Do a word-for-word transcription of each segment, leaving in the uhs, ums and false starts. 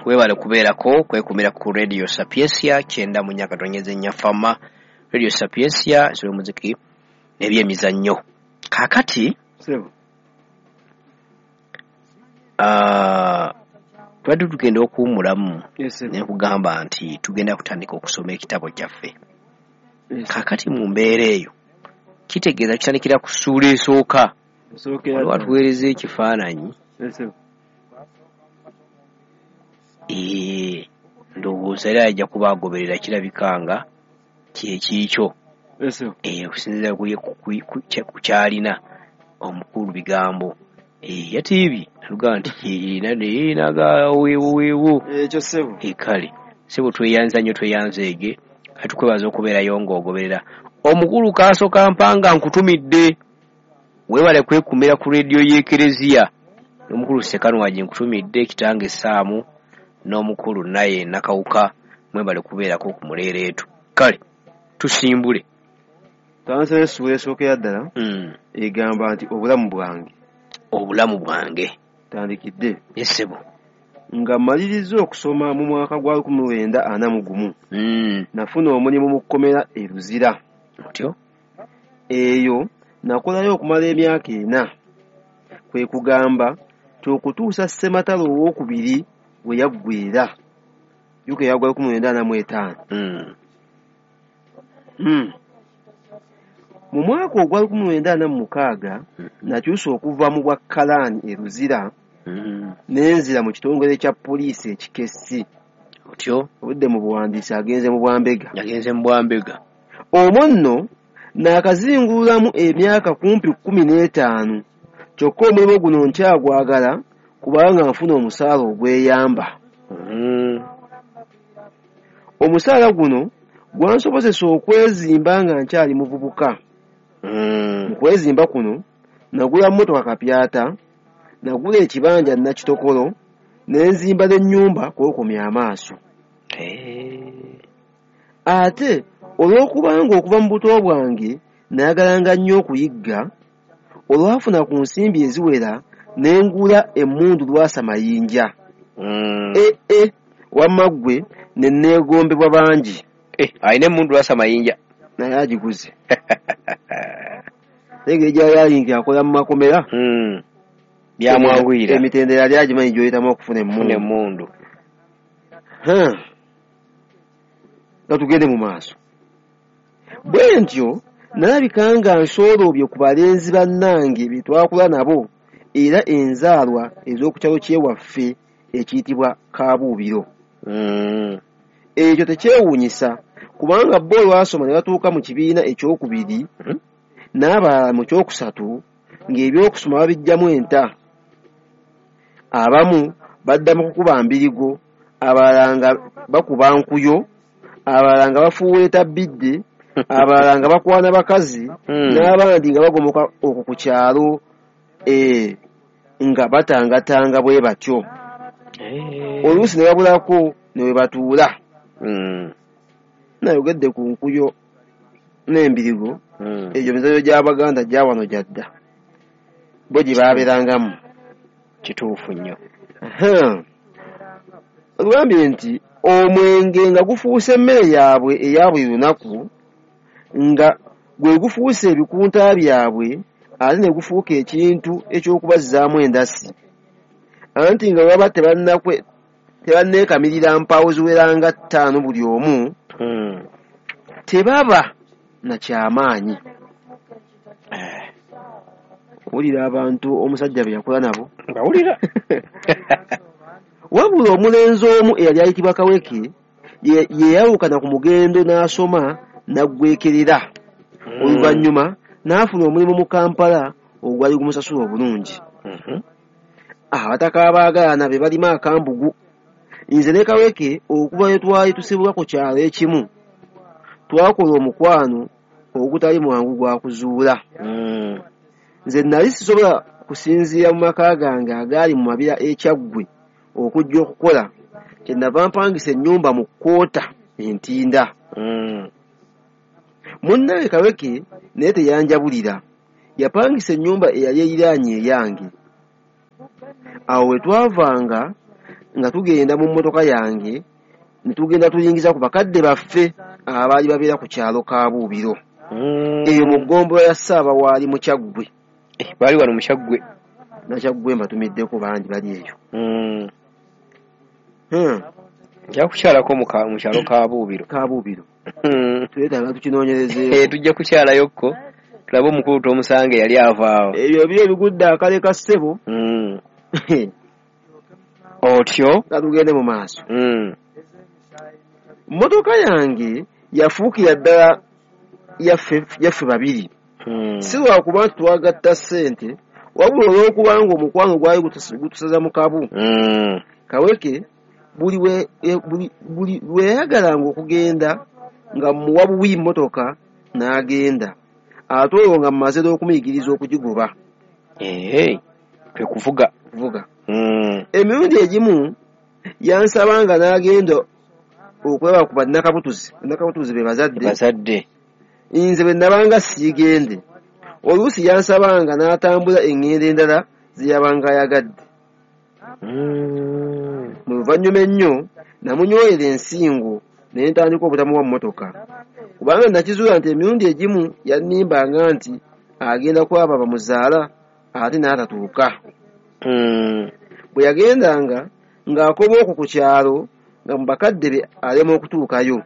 Webale kubeerako kwekumira ku Radio Sapientia kyenda mu nnya katonyeze nnya fama. Radio Sapientia ensolo muziki n'ebyemizannyo. Kaakati Sebo. ah, tubadde tugenda okuwummulamu Yes, sebo. ne kugamba nti tugenda kutandika okusoma ekitabo kyaffe. Yes. Kaakati mu mbeera eyo kitegeeza kitandikira ku ssuula esooka. Esookera Waliwo ddala. atuweereza ekifaananyi. Yes, sebo. Ee, ndowooza era ajja kuba agoberera kirabika nga kye kiikyo. Yes, sebo. Ee, okusinziira ku, ku, ku, ku, ku kyalina omukulu bigambo. Ee, yatiibye nalugamba nti kirina naye naga weewo weewo. Ekyo sebo. Ee, kale sebo tweyanza nnyo tweyanzeege kati tukwebaza okubeerayo ng'ogoberera. Omukulu Kaaso Kampanga nkutumidde, weebale kwekumira ku rediyo y'Ekereziya. N'omukulu Ssekanwagi nkutumidde, kitange Ssaamu n'omukulu naye Nakawuka mwebale kubeerako ku muleereetu. Kale tusimbule. Tandise n'essuula esookera ddala Mm. egamba nti obulamu bwange. Obulamu bwange. Tandikidde. Yes, ssebo. Nga mmaliriza okusoma mu mwaka gwa lukumi lwenda ana mu gumu. Mm. Nafuna omulimu mu kkomera e Luzira. Otyo? Eyo nakolayo okumala emyaka ena. Kwe kugamba nti okutuusa Ssematalo owookubiri we yaggweera. Jjuka yaggwa lukumi lwenda ana mu etaano. Mm. Mm. Mu mwaka ogwa lukumi lwenda ana mu mukaaga Mm. nakyusa okuva mu bwa Kalaani e Luzira Mm. ne nzira mu kitongole kya poliisi ekikessi. Otyo? Obudde mu buwandiisi agenze mu Bwambega. Yagenze mu Bwambega. Omwo nno naakazingululamu emyaka kumpi kkumi n'etaano. Kyokka omulimu guno nkyagwagala kubanga nfuna omusaala ogweyamba. Mm. Omusaala guno gwansobozesa okwezimba nga nkyali muvubuka. Mm. Mu kwezimba kuno nagula mmotoka kapyata, nagula ekibanja Nakitokolo, ne nzimba n'ennyumba kw'okomya amaaso. Eh. Ate olw'okubanga okuva mu buto bwange nayagalanga nnyo okuyigga, olwafuna ku nsimbi eziwera ne ngula emmundu Lwasa Mayinja. Mm. E e wamma ggwe ne neegombebwa bangi. Eh, alina emmundu Lwasa Mayinja. Naye agiguze. Naye engeri gy'ali nti akola mu makomera. Mm. Byamwanguyira. Emitendera yali agimanyi gy'oyitamu okufuna Okufuna emmundu. emmundu. Ha. Nga tugende mu maaso. Bwe ntyo nalabika nga nsooloobye ku balenzi bannange be twakula nabo era enzaalwa ez'oku kyalo ky'ewaffe ekiyitibwa Kaabuubiro. Mm. Ekyo tekyewuunyisa kubanga bo olwasoma ne batuuka mu kibiina ekyokubiri Mhm. n'abalala mu kyokusatu ng'ebyokusoma babiggyamu enta. Abamu badda mu kukuba mbirigo, abalala nga bakuba nkuyo, abalala nga bafuuweeta bbidde, abalala nga bakwana bakazi, Mm. n'abandi nga bagomoka okwo ku kyalo eh, nga batangatanga bwe batyo. Eh. Oluusi ne babulako ne we batuula. Mm. Nayogedde ku nkuyo n'embirigo, Mm. egyo mizannyo gy'Abaganda gya wano gya dda. Bo gye baabeerangamu. Kituufu nnyo. Aha. Olugambye nti omwenge nga gufuuse emmere yaabwe eya buli lunaku, nga gwe gufuuse ebikunta byabwe ate ne gufuuka ekintu eky'okubazzaamu endasi. Anti nga bwe baba tebannakwe tebanneekamirira mpaawo ziwera nga ttaano buli omu, Mm. tebaba na kyamaanyi. Eh. Owulira abantu omusajja be yakola nabo? Mbawulira. Wabula omulenzi omu eyali ayitibwa Kaweke ye yayawukana ku mugendo n'asoma n'aggwekerera. Mm. Oluvannyuma n'afuna omulimu mu Kampala ogwali gumusasula obulungi. Mhm. Abataka abaagalana be balima akambugu. Nze ne Kaweke okuva lwe twali tusibuka ku kyalo ekimu, twakola omukwano ogutali mwangu gwa kuzuula. Mm. Nze nali sisobola kusinziira mu maka gange agaali mu mabira e Kyaggwe okujja okukola, kye nava mpangisa ennyumba mu kkoota e Ntinda. Mm. Munnange Kaweke naye teyanjabulira, yapangisa ennyumba eyali eriraanye eyange. Awo we twavanga nga tugenda mu mmotoka yange ne tugenda tuyingiza ku bakadde baffe abaali babeera ku kyalo Kabuubiro. Eyo mu ggombolola ya Ssaabawaali mu Kyaggwe. Baali wano mu Kyaggwe. Nakyaggwe mbatumiddeko bangi bali eyo. Nja kukyalako mu kyalo Kabuubiro. Kabuubiro. Twetaaga tukinoonyerezeeko. Tujja kukyalayokko tulabe omukulu Tomusange yali avaawo. Ebyo biri ebigudde akale ka ssebo. Otyo? Ka tugende mu maaso. Mmotoka yange yafuukira ddala yaffe babiri. Si lwakuba nti twagatta ssente, wabula olw'okubanga omukwano gwali gutusaza mu kabu. Kaweke buli lwe yayagalanga okugenda nga mmuwa buwi mmotoka n'agenda. Ate olwo nga mmaze n'okumuyigiriza okugigoba. Kwe kuvuga. Kuvuga. Emirundi egimu yansabanga n'agenda okulaba ku bannakabutuzi. Bannakabutuzi be bazadde. Bazadde. Nze bwe nabanga siigende. Oluusi yansabanga n'atambula eŋŋendo endala ze yabanga ayagadde. Mu luvannyuma ennyo namunyoolera ensingo ne ntandika obutamuwa mmotoka. Kubanga nakizuula nti emirundi egimu yannimbanga nti agenda kulaba bamuzaala ate n'atatuuka. Bwe yagendanga ng'akoma okwo ku kyalo nga mu bakadde be alema okutuukayo.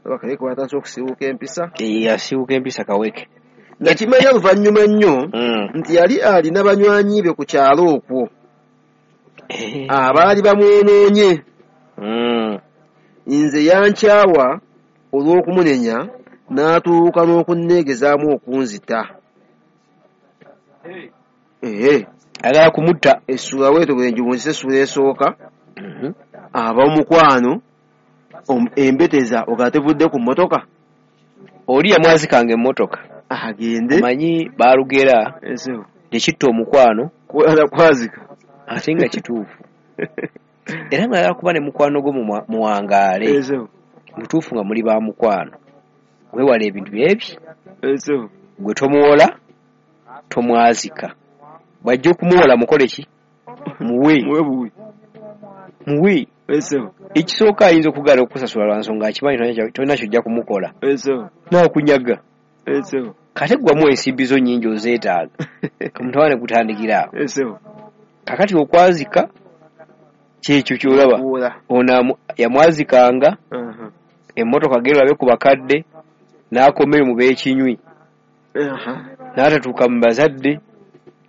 Kaweke watandise okusiiwuuka empisa. Yasiiwuuka empisa Kaweke. Nakimanya luvannyuma nnyo nti yali alina banywanyi be ku kyalo okwo abaali bamwonoonye. Nze yankyawa olw'okumunenya n'atuuka n'okunneegezaamu okunzita. Ayagala kumutta. Essuula bwetyo bwe ngiwunzise essuula esooka. Ab'omukwano embeteza ogatevudde ku mmotoka. Oli yamwazikanga emmotoka. Agende. Omanyi baalugera tekitta omukwano kwazika. Ate nga kituufu. Era nga ayagala kuba ne mukwano gwo muwangaale. Mutuufu nga muli ba mukwano. Weewale ebintu byebyo. Gwe tomuwola, tomwazika. Bw'ajja okumuwola mukole ki? Muwe. Muwe. Ekisooka ayinza okugaana okukusasula lwa nsonga akimanyi tolina ky'ojja kumukola. N'akunyaga. Kate ggwamu ensimbi zo nnyingi ozeetaaga. Omutawaana gutandikira awo. Kaakati okwazika kyekyo ky'olaba. Ono yamwazikanga emmotoka genda olabe ku bakadde n'akomayo mu b'ekinywi. N'atatuuka mu bazadde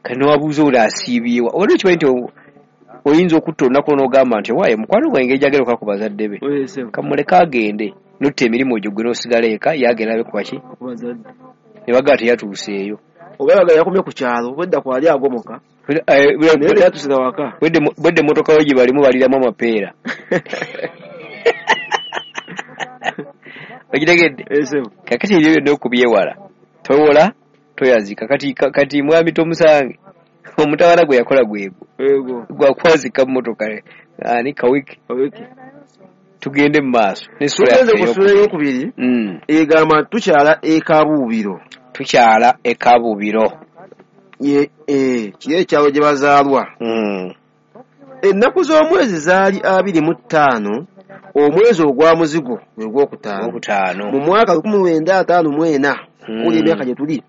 kati n'owabuuza ono asiibyewa. Obadde okimanyi nti oyinza okutta olunaku n'ogamba nti waaye mukwano gwange engeri gy'agenda okukola ku bazadde be. Kamuleke agende n'otta emirimu gyo gwe n'osigala eka ye agenda alabe ku baki? Ne bagamba teyatuuseeyo. Oba yagala yakomye ku kyalo obwedda kwali agomoka. Naye teyatuuse na waka. Bwedde emmotoka yo gye balimu baliramu amapeera. Okitegedde? Kaakati ebyo byonna okubyewala. Towola, toyazika. Kati kati mwami Tomusange omutawaana gwe yakola gwegwo. Gwakwazika mmotoka ani Kaweke. Tugende mu maaso. Tugenze ku ssuula ey'okubiri egamba tukyala e Kabuubiro. Tukyala e Kabuubiro. Kiri ekyalo gye bazaalwa. Ennaku z'omwezi zaali abiri mu ttaano omwezi ogwa muzigo gwe gwokutaano mu mwaka lukumi lwenda ataano mu ena oli emyaka gye tuli.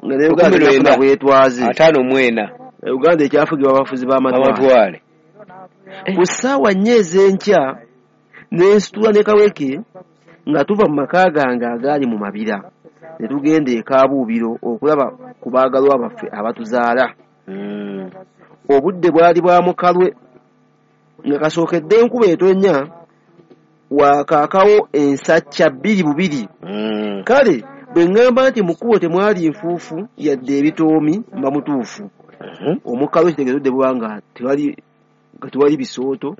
Nga ne Uganda efuna bwetwaze. Ataano mu ena. Uganda ekyafugibwa abafuzi b'amatwale. Ku ssaawa nnya ez'enkya ne nsitula ne Kaweke nga tuva mu maka gange agaali mu Mabira ne tugenda e Kabuubiro okulaba ku baagalwa baffe abatuzaala. Obudde bwali bwa mukalwe nga kasookedde enkuba etonnya wakaakawo ensacca bbiri bubiri. Kale bwe ŋŋamba nti mu kkubo temwali nfuufu yadde ebitoomi mba mutuufu. Omukalwe kitegeeza obudde buba nga tewali nga tewali bisooto.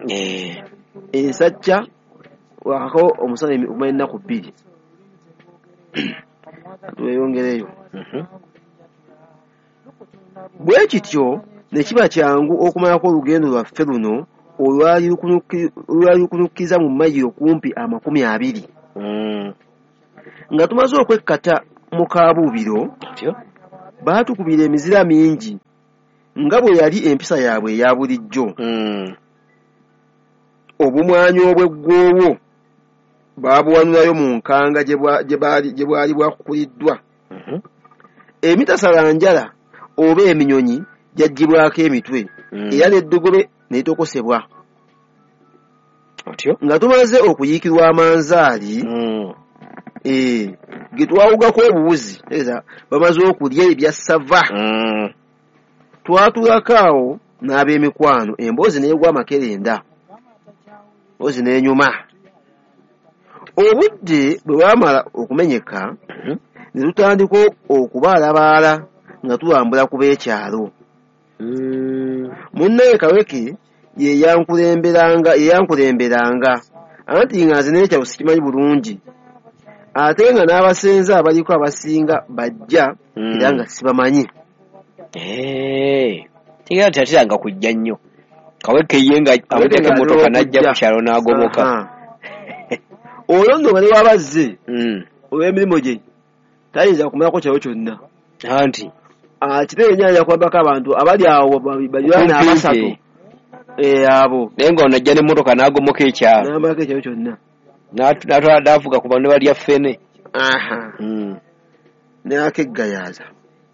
Ensacca wakaakawo omusana okumala ennaku bbiri. Tweyongereyo. Bwe kityo ne kiba kyangu okumalako olugendo lwaffe luno olwali lukunukkiza mu mayiro kumpi amakumi abiri. Nga tumaze okwekkata mu Kabuubiro, baatukubira emizira mingi Nga bwe yali empisa yaabwe eya bulijjo. Mm. Obumwanyi obw'eggwoowo baabuwanulayo mu nkanga gye bwa- gye baali gye bwali bwakukuliddwa. Mhm. Emitasalanjala oba eminyonyi gyaggyibwako emitwe Mm. era n'eddogobe ne litokosebwa. Otyo. Nga tumaze okuyiikirwa amanzaali Mm. eh, ge twawugako obuwuzi, tegeeza bamaze okulya ebya ssava. Mm. Twatuulako awo n'ab'emikwano, emboozi n'egwa amakerenda, emboozi n'enyuma. Obudde bwe bwamala okumenyeka, Mhm. ne tutandika okubaalabaala nga tulambula ku b'ekyalo. Mm. Munnaye Kaweke ye yankulemberanga, ye yankulemberanga, anti nga nze n'ekyalo sikimanyi bulungi. Ate nga n'abasenze abaliko abasinga bajja Mm. era nga sibamanyi. Eh. Tegeera nti atiranga kujja nnyo. Kaweke ye nga Kaweke amuteeka nga emmotoka atera n'ajja okujja. ku kyalo n'agomoka. Aha. Olwo nno nga ne bw'aba azze Mm. olw'emirimu gye tayinza kumalako kyalo kyonna. Anti Akitebe nnyo ayinza kuyambako abantu abali awo baliraane Okumpi. abasatu. Eh, abo. Naye nga ono ajja n'emmotoka n'agomoka ekyalo. N'amalako ekyalo kyonna. N'atu-, n'atwala n'avuga ku bantu balya ffene. Aha. Mm. N'akeggayaaza.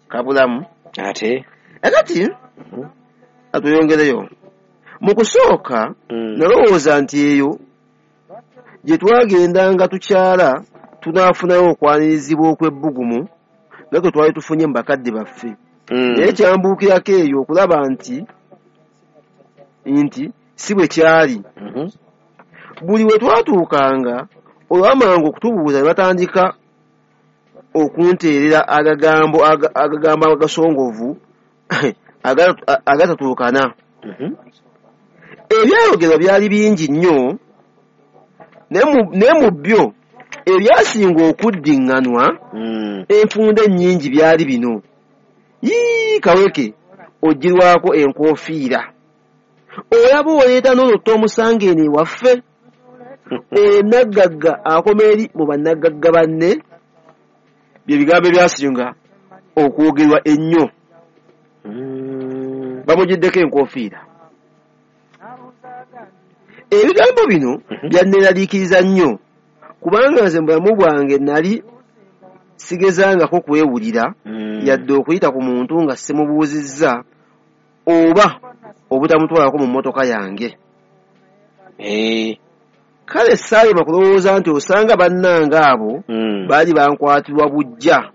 Kabulamu. Ate? Akati, Mhm. atweyongereyo. Mu kusooka, Mm. nalowooza nti eyo gye twagendanga tukyala tunaafunayo okwanirizibwa okw'ebbugumu nga kwe twali tufunye mu bakadde baffe. Mm. Naye kyambuukirako eyo okulaba nti, nti si bwe kyali. Mhm. Buli we twatuukanga olwamangu okutubuuza ne batandika okunteerera agagambo aga-, agagambo agasongovu aga-, agatatuukana. Mhm. Ebyayogerwa byali bingi nnyo, naye mu-, naye mu byo ebyasinga okuddiŋŋanwa Mm. enfunda ennyingi byali bino. Yii, Kaweke ogirwako enkoofiira. Olaba oleeta n'olutta omusanga eno ewaffe. Oyo naggagga akoma eri mu bannaggagga banne. Bye bigambo ebyasinga okwogerwa ennyo. Mm. Bamugiddeko enkoofiira. Ebigambo bino Mhm. byanneeraliikiriza nnyo, kubanga nze mu bulamu bwange nali sigezangako kwewulira Mm. yadde okuyita ku muntu nga simubuuzizza oba obutamutwalako mu mmotoka yange. Eh. Kale saalema kulowooza nti osanga bannange abo Mm. baali bankwatirwa buggya.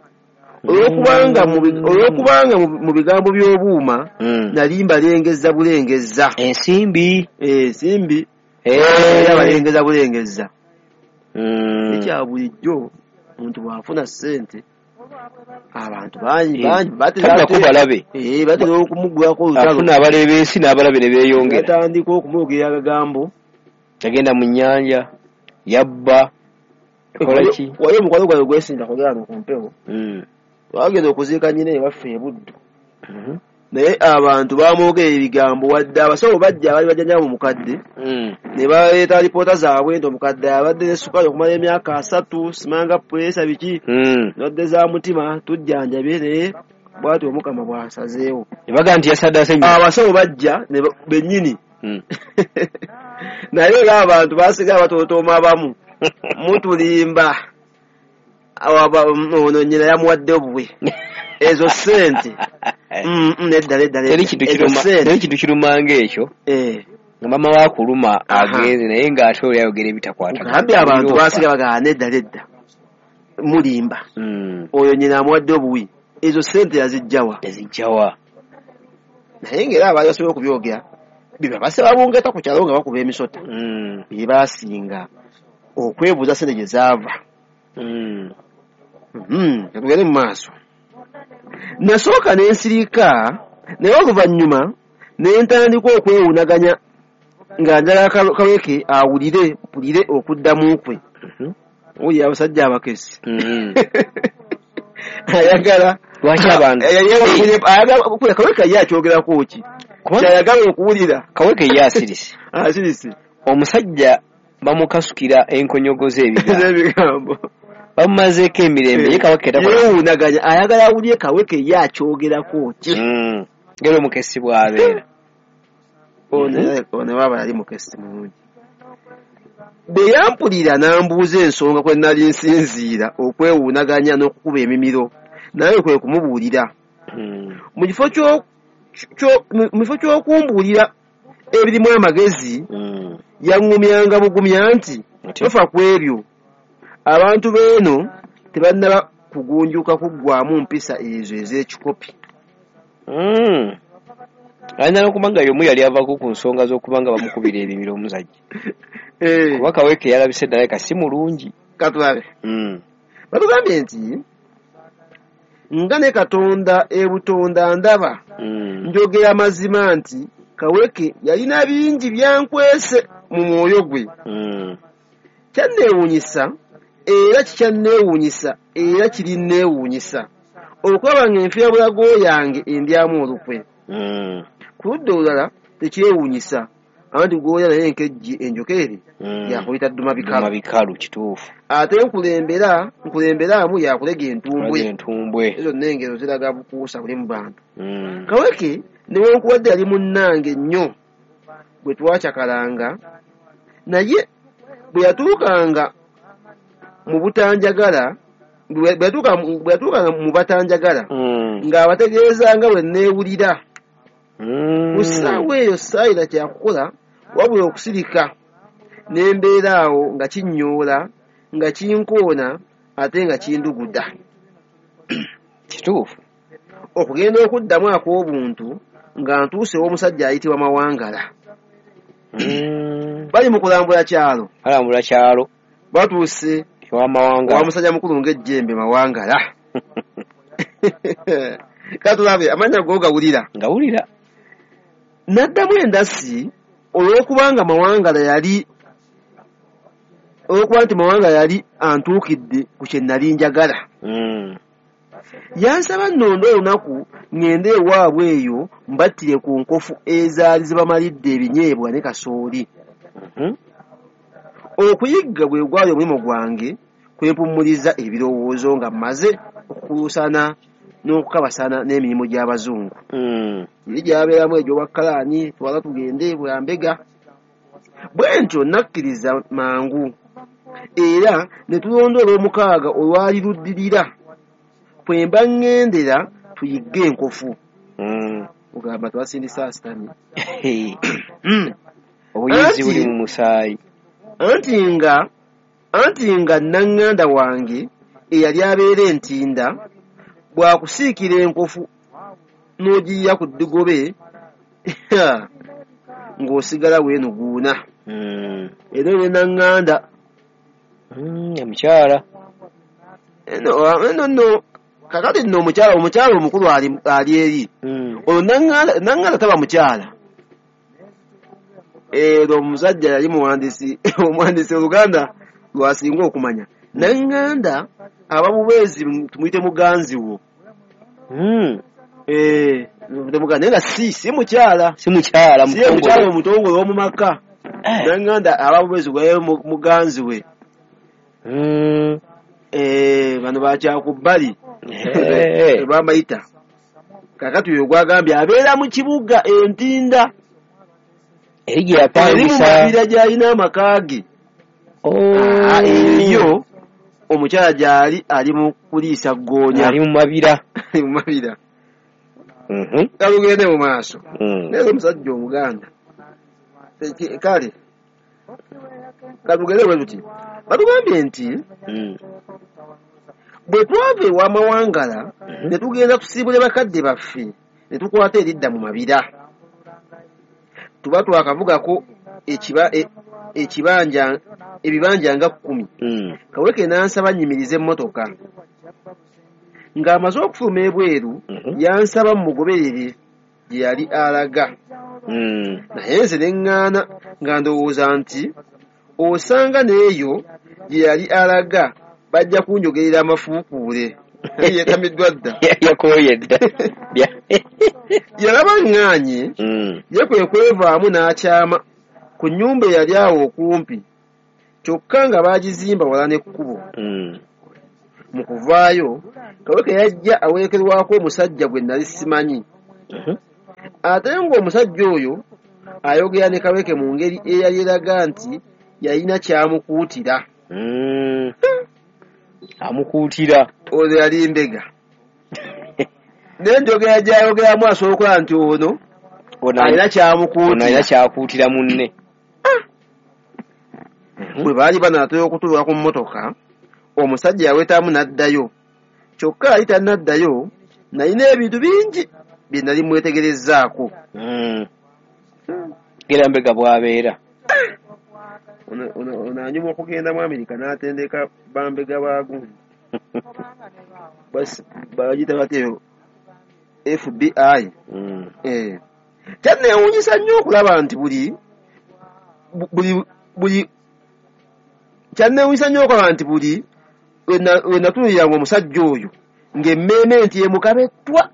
Olw'okubanga mu bi-, olw'okubanga mu, mu bigambo by'obuuma, Mm. nali mbalengezza bulengezza. Ensimbi. Eh, ensimbi. Eh. Era balengeza bulengezza. Mm. Ekya bulijjo omuntu bw'afuna ssente, abantu bangi, Eh. bangi, batera Tadda ate- kubalabe. Eh, batera okumugwako olutalo. Afuna abaleebeesi n'abalabe ne beeyongera. Batandika okumwogera agagambo. Yagenda mu nnyanja, yabba, yakola ki? Waliwo omukwano gwange gwesinza kwogera ku mpewo. Mm. Twagenda okuziika nnyina ewaffe e Buddu. Mm-hmm. Naye abantu baamwogera ebigambo wadde abasawo bajja abaali bajjanjaba mu mukadde. Mm. Ne baleeta alipoota zaabwe nti omukadde abadde ne ssukaali okumala emyaka asatu, simanga puleesa biki, Mm. ndwadde za mutima, tujjanjabye naye bw'atyo Omukama bw'asazeewo. Ne bagamba nti yasaddaase nnyo. Abasawo bajja ne ba-, bennyini. Mm. Naye era abantu baasigala batootooma abamu. Mutulimba. Awo aba-, ono nnyina yamuwadde obuwe. Ezo ssente. Mm, mm, nedda, nedda, nedda. Teri kintu Ezo kiruma, ssente. teri kintu kiruma ng'ekyo. Eh. Nga maama wa kuluma Aha. agenze naye ng'ate oli ayogera ebitakwatagana. Ngambi abantu Olyofa. baasigala bagamba nedda, nedda. Mulimba. Mm. Oyo nnyina amuwadde obuwi. Ezo ssente yaziggya wa? Yaziggya wa? Naye ng'era abaali basobola okubyogera, bye babasaba bungeta ku kyalo nga bakuba emisota. Mm. Bye baasinga okwebuuza ssente gye zaava. Mm. Mm, tugende mu maaso. Nasooka ne nsirika, naye oluvannyuma ne ntandika okwewuunaganya nga njagala Ka-, Kaweke awulire, mpulire okuddamu kwe. Mm-hmm. Owulira abasajja abakesi. Mm-hmm. Ayagala. Lwaki abantu? Ayagala okuwulira, ayagala okuwulira. Kaweke ye akyogerako ki? Kubanga Ky'ayagala okuwulira. Kaweke ye asirise. Asirise. Omusajja bamukasukira enkonyogo z'ebigambo. Z'ebigambo. Bamumazeeko emirembe, ye Kaweke takola. Yeewuunaganya, ayagala awulire Kaweke ye akyogerako ki? Mm. Ngeri omukessi bw'abeera. Ono waaba yali mukessi mulungi. Bwe yampulira n'ambuuza ensonga kwe nali nsinziira okwewuunaganya n'okukuba emimiro, naye kwe kumubuulira. Mu kifo ky'okumbuulira ebirimu amagezi, yaŋŋumyanga bugumya nti tofa ku ebyo, abantu b'eno tebannaba kugunjuka kuggwaamu mpisa ezo ez'ekikopi. Ayinza n'okuba nga y'omu yali avaako ku nsonga z'okuba nga bamukubira ebimiro omusajja. Kuba Kaweke yalabise ddala ka si mulungi. Katulabe. Batugambye nti nga ne Katonda ebutonda ndaba, njogera mazima nti Kaweke yalina bingi byankwese mu mwoyo gwe. Kyanneewuunyisa era kikyanneewuunyisa era kirinneewuunyisa okulaba ng'enfiirabulago yange endyamu olukwe. Ku ludda olulala tekyewuunyisa anti gw'olya naye enkejje enjokeere yakuyita dduma bikalu. Kituufu. Ate nkulembera nkulemberaamu yakulega entumbwe. Entumbwe. Ezo zonna engero ziraga bukuusa buli mu bantu. Kaweke newankubadde yali munnange nnyo bwe twacakalanga, naye bwe yatuukanga mu butanjagala bwe yatuukanga mu batanjagala ng'abategeeza nga bwe nneewulira. Ku ssaawa eyo saayina kyakukola wabula okusirika ne mbeera awo nga kinnyoola, nga kinkoona ate nga kinduguda. Kituufu. Okugenda okuddamu ak'obuntu nga ntuuse ew'omusajja ayitibwa Mawangala. Bali mu kulambula kyalo. Balambula kyalo. Batuuse ewa Mawangala. Wa musajja mukulu ng'ejjembe Mawangala. Katulabe amannya go gawulira. Ngawulira. Naddamu endasi olw'okubanga Mawangala yali olw'okuba nti Mawangala yali antuukidde ku kye nali njagala. Yansaba nnonde olunaku ŋŋende ewaabwe eyo mbattire ku nkofu ezaali zibamalidde ebinyeebwa ne kasooli. Okuyigga gwe gwali omulimu gwange kwe mpummuliza ebirowoozo nga mmaze okukuluusana n'okukabasana n'emirimu gy'abazungu. Eri gy'abeeramu egy'obwakkalaani twala tugende bwambega. Bwe ntyo nakkiriza mangu era ne tulonda olw'omukaaga olwali luddirira kwe mba ŋŋendera tuyigge enkofu. Ogamba twasindisa asitami. Obuyizi buli mu musaayi. Anti nga anti nga naŋŋanda wange eyali abeera entinda bw'akusiikira enkofu n'ogiyiya ku ddigobe ng'osigala weenuguuna. Era ne naŋŋanda omukyala. Eno nno kakati nno omukyala omukyala omukulu ali eri. Olwo naŋŋanda taba mukyala. Era omusajja yali muwandiisi omuwandiisi Oluganda lw'asinga okumanya. Naŋŋanda aba bubeezi tumuyite muganzi wo. Eh, tumuyite naye nga si si mukyala. Si mukyala Si mukyala omutongole ow'omu maka. Naŋŋanda aba bubeezi gwe muganzi we. Eh, bano bakyakubbali. Babayita. Kakati oyo gwagambye abeera mu kibuga Entinda. Eri gye yapangisa. Eri mu mabira gy'alina amaka ge. Eyo omukyala gy'ali ali mu kuliisa ggoonya. Ali mu mabira. Ali mu mabira. Kalugende mu maaso. Naye omusajja Omuganda. Kale kalugende bwe tuti. Batugambye nti bwe twava ewa Mawangala ne tugenda tusiibule bakadde baffe ne tukwata eridda mu mabira. Tuba twakavugako ekibanja ebibanja nga kkumi. Kaweke n'ansaba nnyimirize emmotoka. Ng'amaze okufuluma ebweru yansaba mmugoberere gye yali alaga. Naye nze ne ŋŋaana nga ndowooza nti osanga n'eyo gye yali alaga bajja kunjogerera amafuukuule. Yeetamiddwa dda. Yakooye dda. Yalaba ŋŋaanye ye kwe kwevaamu n'akyama ku nnyumba eyali awo okumpi kyokka nga baagizimba wala n'ekkubo. Mu kuvaayo Kaweke yajja awerekerwako omusajja gwe nali simanyi. Ate ng'omusajja oyo ayogera ne Kaweke mu ngeri eyali eraga nti yalina ky'amukuutira. Mm. Amukuutira. Ono yali mbega. N'enjogera gy'ayogeramu asobola okulaba nti ono alina ky'amukuutira. Ono alina ky'akuutira munne. Bwe baali banaatera okutuuka ku mmotoka, omusajja yawetamu n'addayo. Kyokka yali tannaddayo, nalina ebintu bingi bye nali mwetegerezzaako. Mm. Era mbega bw'abeera. Ono anyuma okugenda mu Amerika n'atendeka bambega ba gundi. Bagiyita batya eyo? F B I. Mm. Eh. Kyanneewuunyisa nnyo okulaba nti buli buli buli kyanneewuunyisa nnyo okulaba nti buli we natunuuliranga omusajja oyo ng'emmeeme nti emukabettwa.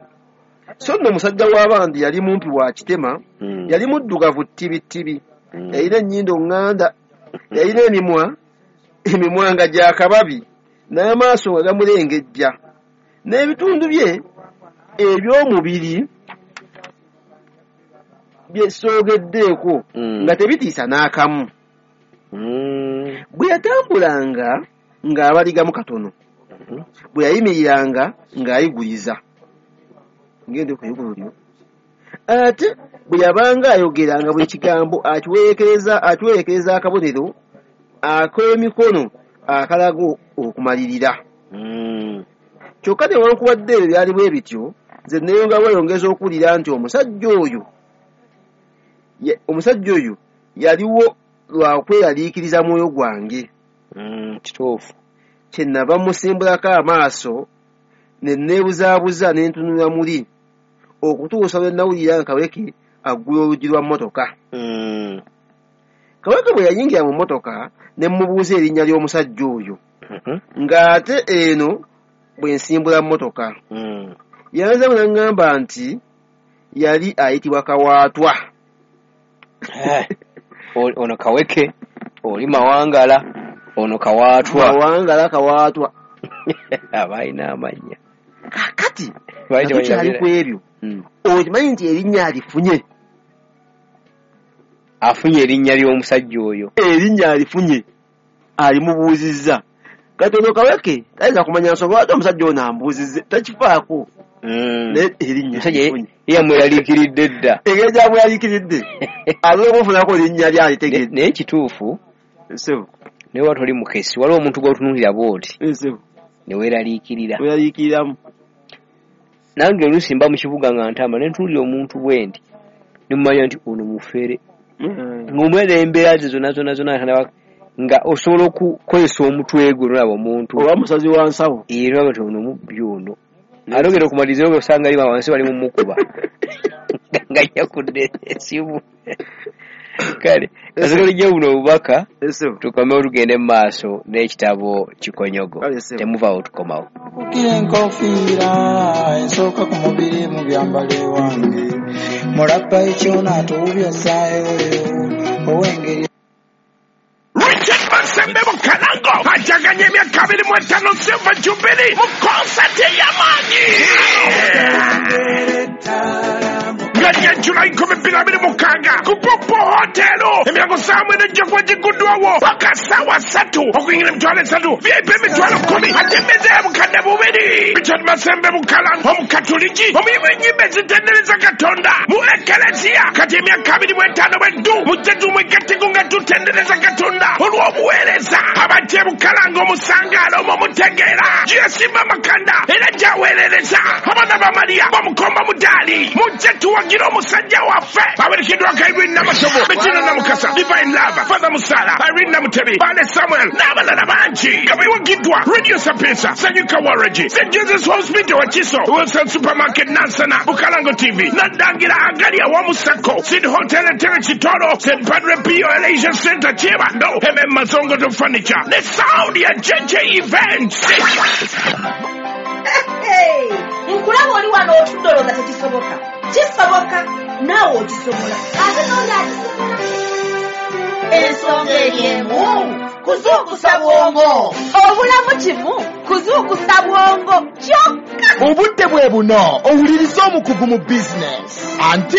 So nno omusajja w'abandi yali mumpi wa kitema, Mm. yali muddugavu ttibittibi, Mm. yalina ennyindo ŋŋanda, yalina emimwa emimwa nga gya kababi, n'amaaso nga gamulengejja, n'ebitundu bye eby'omubiri bye soogeddeeko Mm. nga tebitiisa n'akamu. Mm. Bwe yatambulanga ng'abaligamu katono, Mhm. bwe yayimiriranga ng'ayigiriza. Ngende kuyigululyo. Ate bwe yabanga ayogeranga buli kigambo akiwerekereza akiwerekereza akabonero ak'emikono akalaga okumalirira. Mm. Kyokka newankubadde ebyo byali bwe bityo, nze neeyongera bweyongeza okuwulira nti omusajja oyo ye, omusajja oyo yaliwo lwa kweraliikiriza mwoyo gwange. Mm, kituufu. Kye nava musimbulako amaaso ne neebuzaabuza ne ntunula muli okutuusa lwe nawulira nga Kaweke aggula oluggi lwa mmotoka. Mm. Kaweke bwe yayingira mu mmotoka ne mmubuuza erinnya ly'omusajja oyo. Mhm. Ng'ate eno bwe nsimbula mmotoka. Mm. Yanziramu n'aŋŋamba nti yali ayitibwa Kawaatwa. Eh, ono Kaweke, oli Mawangala, ono Kawaatwa. Mawangala Kawaatwa. Abalina amannya. Kaakati Baali tukyali tebalina ku ebyo. Mm. Okimanyi nti erinnya alifunye. Afunye erinnya ly'omusajja oyo. Erinnya alifunye. Alimubuuzizza. Kati ono Kaweke tayinza kumanya nsonga lwaki omusajja ono ambuuzizza, takifaako. Mm. Naye erinnya Omusajja alifunye. ye yamweraliikiridde dda. Engeri gy'amweraliikiridde, alina okumufunako erinnya ly'alitegedde. Naye kituufu. Ssebo. Naye wali toli mukesi, waliwo omuntu gw'otunuulira bw'oti. Ssebo. Ne weeraliikirira. Weeraliikiriramu. Nange oluusi mba mu kibuga nga ntambula ne ntunuulira omuntu bwe nti, ne mmanya nti ono mufere. Mm. Ng'omulaba embeera ze zonna zonna zonna nga osobola okukozesa omutwe gwe n'olaba omuntu. Oba musazi wa nsawo. Era olaba nti ono mubbi ono. Ate ogenda okumaliriza osanga ali wansi bali mumukuba. Nga yakudde essimu. Kale, kasooka tujje buno obubaka, tukomewo tugende mu maaso n'ekitabo Kikonyogo. Temuvaawo tukomawo. Kukira enkofiira ensooka ku mubiri mu byambalo ewange. Mulabba ekyona atuwubya ssaayoyo ow'engeri. Richard Masembe Bukalango ajaganya emyaka abiri mu etaano Silver Jubilee mu konsati ey'amaanyi. Nga Julai nkumi bbiri abiri mukaaga ku Popo Hotel. Emyango ssaawa mwenda ejja kuba gigguddwawo paka ssaawa ssatu okuyingira emitwalo esatu V I P emitwalo kkumi ate emmeeza ya bukadde bubiri. Richard Masembe Bukalango omukatuliki omuyimbi w'ennyimba ezitendereza Katonda mu Ekereziya kati emyaka abiri mu etaano bweddu mujje tumwegatteko nga tutendereza Katonda olw'obuweereza. Abajja e Bukalango omusangaala omwo mutegeera gyeyasimba amakanda era gy'aweerereza abaana ba Mariya bamukomba mudaali. Mujje tuwagire omusajja waffe awerekeddwako Irene Namatovu, Bettina Namukasa, Divine Love, Father Musala, Irene Namutebi, Bale Samuel n'abalala bangi nga bewagiddwa Radio Sapienza, Sanyuka Waragi, Saint Jesus Hospital Wakiso, Wilson Supermarket Nansana, Bukalango T V, Nadangira Agali awamu Sacco, Sid Hotel Entebbe Kitoro, Saint Padre Pio Elijah Center Kyebando, M M Mazongo to Furniture, ne sound ya J J Events. Hey, nkulaba oli wano otudde olowooza tekisoboka. Kisoboka, naawe okisobola. Ate n'oli akisobola. Ensonga eri emu, kuzuukusa bwongo. Obulamu kimu, kuzuukusa bwongo kyokka. Obudde bwe buno, owuliriza omukugu mu bizinesi. Anti